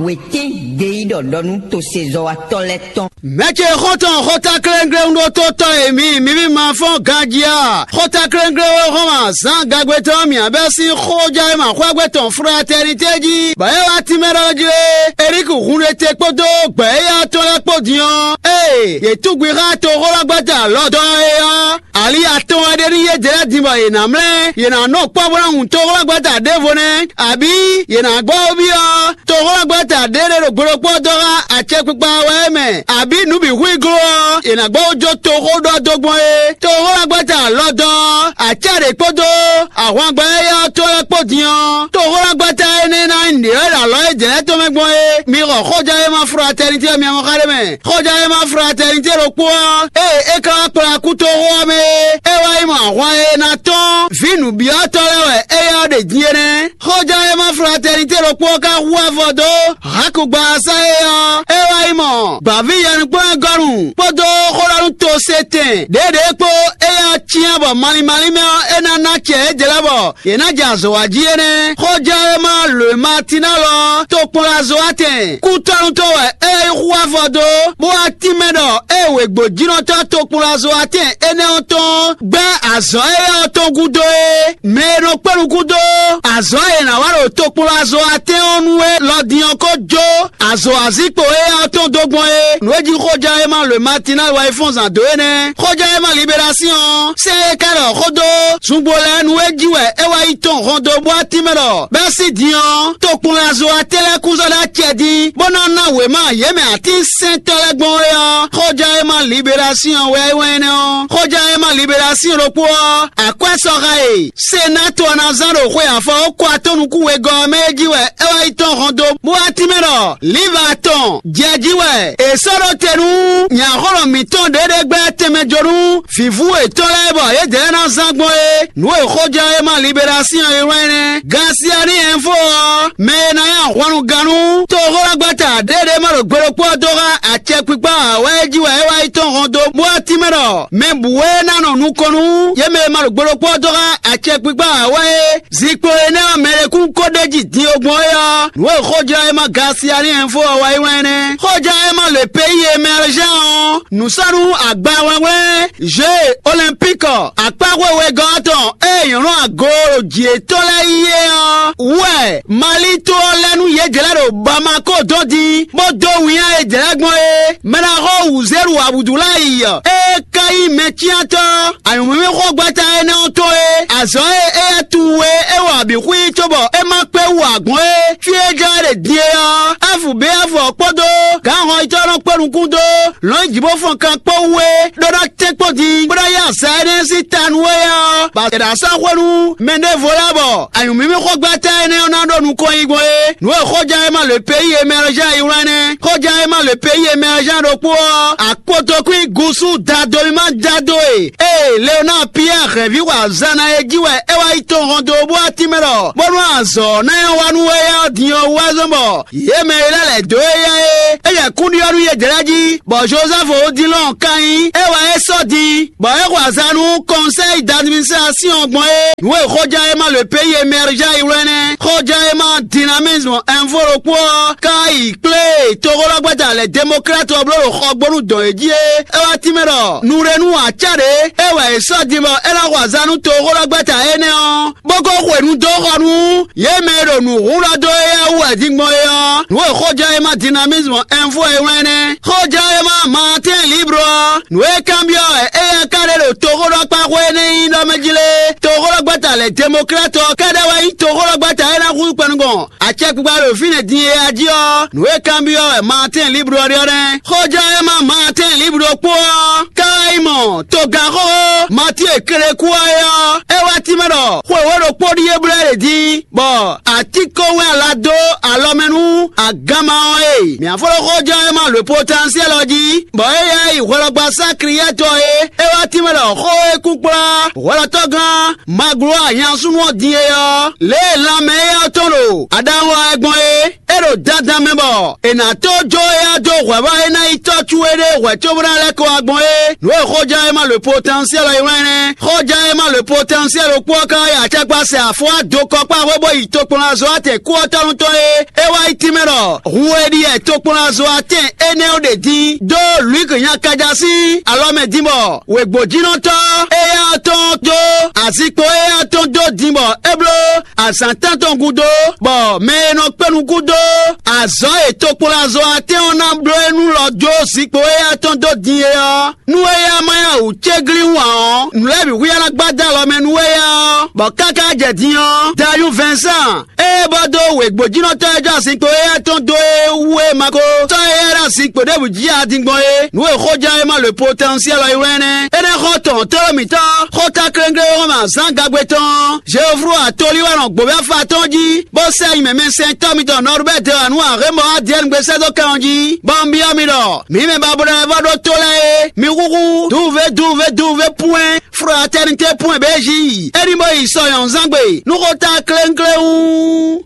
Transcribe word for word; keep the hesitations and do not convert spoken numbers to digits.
Wětɛ́n ɖe yí ɖɔ ɖɔ nú tosezɔ́watɔ́ lɛ́ɛ tɔn. Mɛ̌ ce xɔ́ntɔn xótáklɛ́nglɛ́n ɖótótɔ́ e mi mǐmí ma fɔ́n ganjí a? Xótáklɛ́nglɛ́n e hɔn azǎn gagbe tɔn mǐ abɛ́ sín xójá e ma xwágbé tɔn fratɛnitɛ́ jí, bɔ é wá tínmɛ ɖɔ jí é. Elíki hun ɖe te kpódó gbɛ̌ éyá tɔn lɛ́ɛ kpó din ɔ́, ée yě túgbwi xá toxólágbɛ́ta lɔdɔ́ é ɔ́, ali atɔn wɛ ɖe nú yědɛɛ lɛ́ɛ din bɔ yě ná mlɛ́; yě ná nɔ kpɔ́ bó ná hun toxólágbɛ́ta ɖěvo nɛ́, abǐ yě ná gbɔ byɔ́ toxólágbɛ́ta ɖé ɖé ɖo gbe ɖokpó ɔ́ dó xá acɛkpikpa wɛ é mɛ, abǐ nǔ bǐ hu i gló ɔ́, è nǎ gbɔ wó jó toxó ɖɔ dó gbɔn é. Toxólágbɛ́ta lɔdɔ́, acɛ́ ɖě kpódó ahwangbɛ́ éyɛ́ ɔ́ tó lɛ́ɛ kpó din ɔ́, toxólágbɛ́ta énɛ́ ná nyí nǔɖé wɛ ɖo alɔ éjɛlɛ́ tɔn mɛ gbɔn é. Mi xɔ xójɛ́wéma fratɛnitɛ́ ɔ́ mi ma xá ɖé mɛ. Xójɛ́wéma fratɛnitɛ́ ɖokpó ɔ́, ée é ka wá kplá kú toxó ɔ́ mɛ é, é wá yi mɔ ahwan e è nǎ tɔ́n vǐ nǔbyɔ́tɔ́ lɛ́ɛ wɛ éyɛ́ ɔ́ ɖe din é nɛ́. Xójɛ́wéma fratɛnitɛ́ ɖokpó ɔ́ ka hu avɔ dó Hakugbaasa é ɔ́, é wá yi mɔ gbǎví yɛnukplɔ́nyagɔ́nu kpódó xó ɖɔ nú tosetɛn ɖěɖě kpó éyɛ́ ɔ́ cyán bɔ malín málín mɛ ɔ́, é ná ná acɛ yědɛɛ lɛ́ɛ bɔ yě ná jɛ azɔ̌ wa jí é nɛ́. Xójɛ́wéma Lwematinalɔ tokpɔnlazoatɛn kútɔ́nútɔ́ wɛ é yi hu avɔ dó, bó wá tínmɛ ɖɔ ée wěgbójínɔtɔ́ tokpɔnlazoatɛn énɛ́ ɔ́ tɔn gbɛ́ azɔ̌ éyɛ́ ɔ́ tɔn gúdo é. Mɛ e nɔ kpé nukún dó azɔ̌ e è nǎ wa ɖo tokpɔnlazo atɛ́n ɔ́ nu é lɔ din ɔ́ ko jó azɔ̌ azíkpo éyɛ́ ɔ́ tɔn dó gbɔn é. Nǔ e jí xójɛ́wéma Lwematinali wɛ yi fɔ́n zǎn dó é nɛ́. Xójɛ́wéma Liberasíɔn ɔ́, sɛ́n e ka ɖɔ xó dó zungbo lɛ́ɛ nu é jí wɛ é wá yi tɔn hɔn dó bó wá tínmɛ ɖɔ bɛ́ sín din ɔ́, tokpɔnlazo atɛ́n lɛ́ɛ kún zɔ́ ɖó acɛ dín, bó ná ná wěma yě mɛ atínsɛntɔ́ lɛ́ɛ gbɔn é ɔ́, xójɛ́wéma Liberasíɔn wɛ é wɛn énɛ́ ɔ́. Xójɛ́wéma Liberasíɔn ɖokpó ɔ́, akwɛ́ sɔxa e Senáto ɔ́ ná zán ɖo xwe afɔ ko atɔ́ nukún wegɔ́ ɔ́ mɛ é jí wɛ é wá yi tɔ́n hɔn dó, bó wá tínmɛ ɖɔ Liva tɔn jɛ jí wɛ è sɔ́ ɖó te nú nyɛ̌xɔ́lɔ́ mǐtɔn ɖěɖégbɛ́ tɛnmɛ jó nú vǐvú yětɔn lɛ́ɛ bɔ yědɛɛ ná zán gbɔn é. Nǔ e xójɛ́wéma Liberasíɔn e wlán é nɛ́. Gansiani Ɛnfo ɔ́, mɛ e ná nyí ahwannugannú toxólágbɛ́ta ɖěɖé ma ɖo gbe ɖokpó ɔ́ dó xá acɛkpikpa ǎ wɛ é jí wɛ é wá yi tɔ́n hɔn dó, bó wá tínmɛ ɖɔ mɛ bǔ e ná nɔ nukɔn nú yě mɛ e ma ɖo gbe ɖokpó ɔ́ dó xá acɛkpikpa ǎ wɛ é, zinkpo énɛ́ ɔ́ mɛ e kún ko ɖ'é jí din e gbɔn é ɔ́, nǔ e xójlɔ́ e ma Gansiani Ɛnfo ɔ́ wá yi wɛn nɛ́. Xójlɔ́ e ma le peyi e mɛ Alzán ɔ́, nǔsɔ́nú agbawlɛ́nwlɛ́n Jeux Olympiques akpáxwe wegɔ́ ɔ́ tɔn e nyɔ̌nu ago ɖo jǐ yětɔn lɛ́ɛ yi é ɔ́ wú wɛ Mali to ɔ́ lɛ́ nú yě jlɛ́ ɖo Bamako dɔn din, bó dó winnyá e jlɛ́ gbɔn é. Mɛ ná xɔ wǔzéɖu Abudulayi ɔ́, é ka nyí mɛcyántɔ́ anyǔmímíxɔ́gbɛ́ta énɛ́ ɔ́ tɔn é. Azɔ̌ e éyɛ́ tunwun é é wa bǐ xwí cóbɔ é má kpé wú ǎ gbɔn é. Fí e jlɛ́ ɖe din é ɔ́, Ɛ́fu bǐ Ɛ́fu ɔ́ kpódó gǎnhɔnyitɔ́ nɔ kpó nukún dó lɔ̌nyijǐ-bó-fɔn-kan kpó wú é ɖó ná tɛ́nkpɔ́n din bó ná yí azǎn énɛ́ sín ta nú éyɛ́ ɔ́, ba è nǎ sɔ́ xwé nú mɛ ɖěvo lɛ́ɛ bɔ anyǔmímíxɔ́gbɛ́ta énɛ́ ɔ́ ná ɖo nukɔn yi gbɔn é. Nǔ e xóján e ma lě peyi e mɛ Alzán yi wlán nɛ́. Xóján e ma lě peyi e mɛ Alzán ɖokpó ɔ́, akpotokún gúsú dado e ma dado e ée Leonáa Piyɛ́ɛ hɛ̌nví wa zan ná é jí wɛ é wá yi tɔn hɔn dó bó wá tínmɛ ɖɔ bónú azɔ̌ ná nyɔ́ wa nú éyɛ́ ɔ́ din ɔ́ wú wɛ zɔ́n bɔ yě mɛ e lɛ́ lɛ̌ dó éyɛ́ é, é jɛ kúnɖyɔ́ nú yě jlɛ́ jí, bɔ Jozɛ́fu Odilɔ́ɔn ka nyí é wɛ é sɔ́ din, bɔ é xo azǎn nú kɔnsɛ́yi d'administrasíɔn gbɔn é. Nǔ e xóján e ma lě peyi e mɛ Alzán yi wlán nɛ́. Xóján e ma dinamizmu ɛnfo ɖokpó ɔ́ ka yi kplé toxóɖɔgbɛ́ta lɛ̌ demokláti ɔ́ bló ɖo xɔgbónu dɔn yě jí é. É wá tínmɛ ɖɔ nǔɖénu acá ɖě é wɛ è sɔ́ din bɔ é ná xo azǎn nú toxóɖɔgbɛ́ta énɛ́ ɔ́, bó ko xwenu dó xɔ nú yě mɛ e ɖo nǔ hun ɖɔ dó éyɛ́ wú wɛ din gbɔn é ɔ́. Nǔ e xóján e ma dinamizmu ɛnfo e wlán nɛ́. Xóján e ma Martin Libre ɔ́, nǔ e kanbyɔ́ wɛ éyɛ́ ka ɖe ɖo toxóɖɔkpáxwé énɛ́ nyí ɖɔ mɛ jí lé? Toxóɖɔgbɛ́ta lɛ̌ demokláti ɔ́ kɛ́ɖɛ́ wɛ nyí toxóɖɔgbɛ́ta e ná húzú kpɛnugɔn acɛkpikpa ɖo fínɛ́ din é a jí ɔ́, nǔ e kanbyɔ́ wɛ Martin Libre ɔ́ ɖe ɔ́ nɛ́. Xóján e ma Martin Libre kpó ɔ́, ká wá yi mɔ togǎnxóxó Matíe Klekú ɔ́ é ɔ́, é wá tínmɛ ɖɔ xwe wǒ ɖokpó ɖíe blɛ́ ɖě din, bɔ atínkɔnwɛn ala dó alɔ mɛ nú aganma ɔ́ e mǐ afɔlɔ́xóján e ma lǒ potansiɛ́l ɔ́ jí, bɔ éyɛ́ yi hwɛlɔgbasá Kliyɛ́tɔ é, é wá tínmɛ ɖɔ xó e kún kplá hwɛlɔtɔ́gán Maglo anyasúnú ɔ́ din é ɔ́, lě e lanmɛ éyɛ́ ɔ́ tɔn ɖo aɖawun wa wɛ gbɔn é, é ɖo dandan mɛ bɔ è nǎ tó jó éyɛ́ dó Hwɛ̌vɔ́ e ná yi tɔ́ towe ɖé hwɛ̌ cóbó ná lɛ́ kɔ wá gbɔn é. Nǔ e xóján e ma le potɛnsiɛl ɔ́ yi wlán nɛ́. Xóján e ma le potɛnsiɛl ɖokpó ɔ́ ka wá yi acɛkpá sɛ afɔ́ wá do kɔ kpá xwé bó yi tokpɔnlazɔ́watɛn kú ɔ́ tɔ́nú tɔn é. É wá yi tínmɛ ɖɔ hun e ɖi wɛ tokpɔnlazɔ́watɛn énɛ́ ɔ́ ɖe din dó Lwǐk nyakaja sín alɔ mɛ din bɔ wěgbójínɔtɔ́ éyá ɔ́ tɔn dó azinkpo éyá ɔ́ tɔn dó din bɔ é bló azǎn tántɔn gúdo, bɔ mɛ e nɔ kpé nukún dó azɔ̌ e tokpɔnlazɔ́watɛn ɔ́ ná bló é nú lɔ jó zinkpo éyá tɔn dó din é ɔ́, nú éyá ma yá wǔ céglín wǎn ɔ́, nǔ lɛ́ɛ bǐ hu yá ná gbá dó alɔ mɛ nú éyá ɔ́, bɔ káká jɛ din ɔ́, Dayú Vɛnsan ée bɔ dó wěgbójínɔtɔ́ e jɔ azinkpo éyɛ́ tɔn dó é wú é ma ko sɔ́ éyɛ́ ɖo azinkpo ɖěbǔ jí adingbɔn é. Nǔ e xóján e ma le potɛnsiɛl ɔ́ yi wlán nɛ́. Énɛ́ xɔ tɔn tlóló mǐtɔn xóta klénglé e wɔn mɛ azǎn gagbe tɔn Jeoflu atolí wɛ nɔ gbǒvɛ́ afa tɔn jí, bó sɛ́ nyi mɛmɛsɛntɔ́ mitɔn Nɔrubɛ́ de wǎ nú Ahémɔ Adiɛ́nugbe sɛ́ dó kɛ ɔ́ jí, bɔ un byɔ́ mi ɖɔ: mǐ mɛ ba bló wɛ vɔ ɖó tó lɛ́ɛ é, mi húhú duve duve duve pwɛ́n Fraternité pwɛ́n bějí é ní bó yi sɔ nyɔ̌nzán gbe nú xóta klénglé wú.